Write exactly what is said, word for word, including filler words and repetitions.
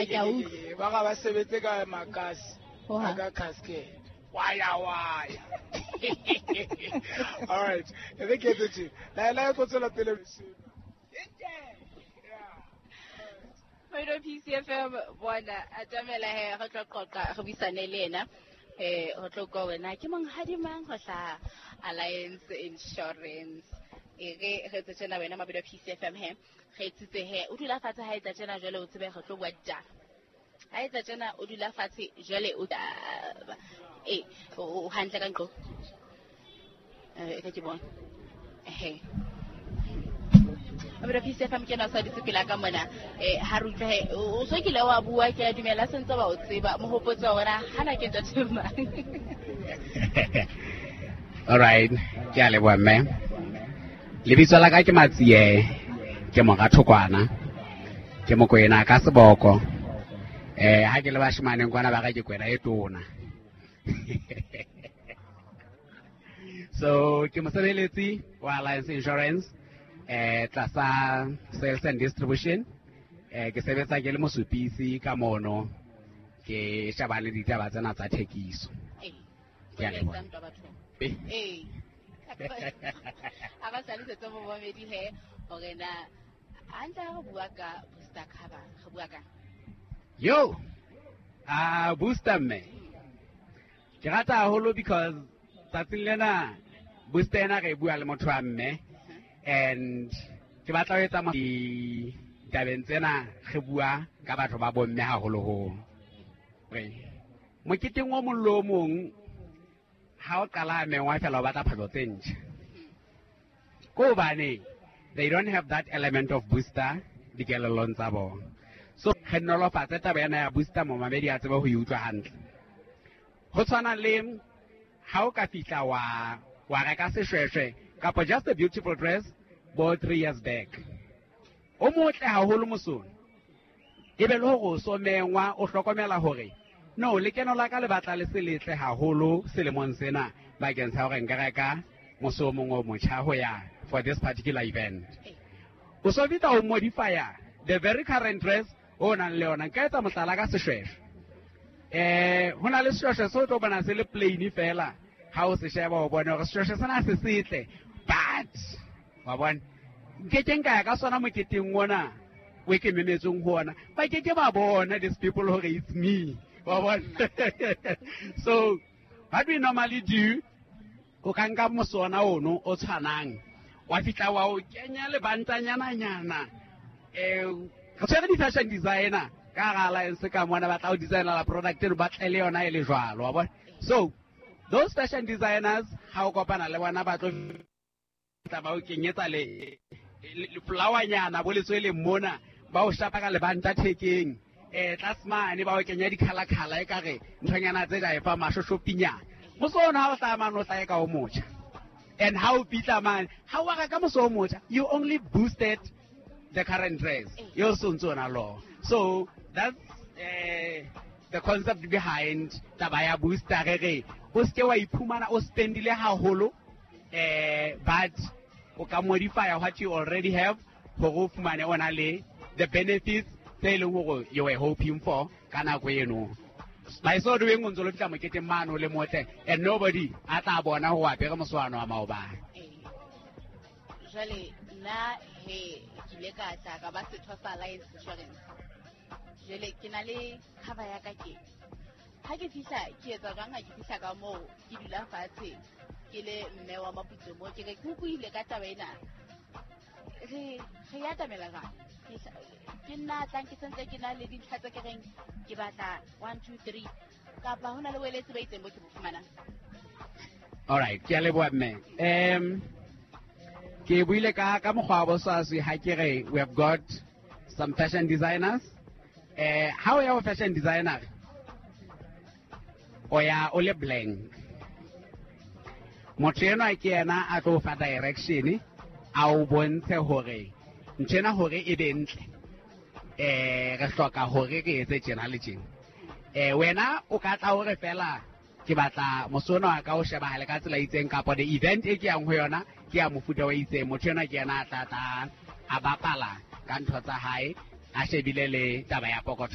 Ke a utlwa. Ba ga ba sebetse ka makasi Hohang. Ka casket waya waya. All right, e re ke etse tje la la tlo tswela pele. Moido P C F M bona atamela he re tlo qoqa, re buisane le ena, eh ho tlo kwa wena ke monghadi mang ho hlaha Alliance Insurance. E re re tse tjena wena Mabido P C F M he re etsitse he o dula fatshe ha etsa tjena, jwale o tsebe re tlo bua ditaba. Ha etsa tjena o dula fatshe, jwale o taba e o hantle ka nqo eh ka ke bona ehe. Mabido P C F M ke na sa ditse pela ka mona eh ha re utlwe he o so kile wa bua, ke a dumela sentse ba o tseba mohopotso wa wena hana ke ntate mang. All right, ke a leboha mme. Lebitso la ka ke Matsie, ke mora Thokwana, ke Mokwena ka seboko. Eh ha ke le bashemaneng kwana ba ka ke kwena e tona. So ke mosebeletsi wa Alliance Insurance eh tlasa sales and distribution. Eh ke sebetsa ke le mosupisi ka mono, ke shebane le ditaba tsena tsa thekiso. Eh Ke a leboha. Ntwa bathong ee a ba hlalosetse momamedi he hore na hantle ha re bua ka booster cover re bua ka Yo, ah booster mme. Ke rata haholo because tsatsing lena booster ena re e bua le motho wa mme and ke batla ho etsa mo- ditabeng tsena re bua ka batho ba bomme haholoholo. Re moketeng o mong le o mong ha o qala mengwa fela o batla phahlo tse ntjha. Ko hobane they don't have that element of booster dikelellong tsa bona. So re nolofatse taba ena ya booster, momamedi a tsebe ho e utlwa hantle. Ho tshwana le ha o ka fihla wa wa reka seshweshwe kapa just a beautiful dress bo three years back. O motle haholo mosong. Ebe le hore o so mengwa o hlokomela hore no lekeno la ka le batla le se letle haholo selemong sena bakeng sa hore nka reka mose o mong o motjha ho ya for this particular event. O so fihla o modify the very current dress o nang le yona. Nka etsa mohlala ka seshweshwe. Eh ho na le seshweshwe se o tlo bona se le plain fela, ha o se sheba o bone hore seshweshwe sena se setle, but wa bona nke ke nka ya ka sona moketeng ona o ke memetsweng ho ona, ba ke ke ba bona these people hore it's me, wa bona. So what we normally do, o ka nka mosona ono o tshwanang wa fihla wa o kenya lebantanyana-nyana. eh re tshwere di-fashion designer ka hara Alliance ka mona, ba tla o designela product eno, ba tle le yona e le jwalo, wa bona. So those fashion designers ha o kopana le bona ba tlo tla ba o kenyetsa le le flowernyana bo letsweleng mona, ba o shapa ka lebanta thekeng, eh tlase mane ba o kenya di-colour-colour e kare nthonyana tse ka e fa mashoshopinyana. Mose ona ha o hlaha mane o hlahe ka o motjha, and ha o fihla mane ha o reka mose o motjha, you only boosted the current dress yo so ntse o na le. So that's uh, the concept behind taba ya booster. Re re o seke wa iphumana o spendile haholo, eh but o ka modify what you already have hore o fumane o na le the benefits tse e leng hore you were hoping for ka nako eno. By so doing o ntse lo fihla moketeng mane o le motle and nobody a tla bona ho apere moswano wa maobane. Ee. Jwale nna he ke ile ka tla ka ba setho sa Alliance Insurance, jwale ke na le cover ya ka. Ke ha ke fihla ke etsa jwang? Ha ke fihla ka moo ke dula fatshe ke le mme wa Maputso mo ke re ke utlwile ka taba ena, re re ya atamela jwang? Ke hla- ke nna tlang ke sentse ke na le dintlha tse ke reng ke batla one two three, kapa ho na le boeletsi ba itseng bo ke bo fumanang? All right, ke a leboha mme. um ke buile ka ka mokgwa wa boswaswi ha ke re we have got some fashion designers. eh ha o ya ho fashion designer o ya o le blank. Motho enwa ke yena a tlo o fa direction, a o bontshe hore ntho ena hore e be ntle eh re hloka hore re etse tjena le tjena. eh wena o ka tla hore fela ke batla mosona wa ka o shebahale ka tsela e itseng, kapa the event e ke yang ho yona ke ya mofuta o itseng. Motho enwa ke yena a tla tla a bapala ka ntho tsa hae, a shebile le taba ya pokotho.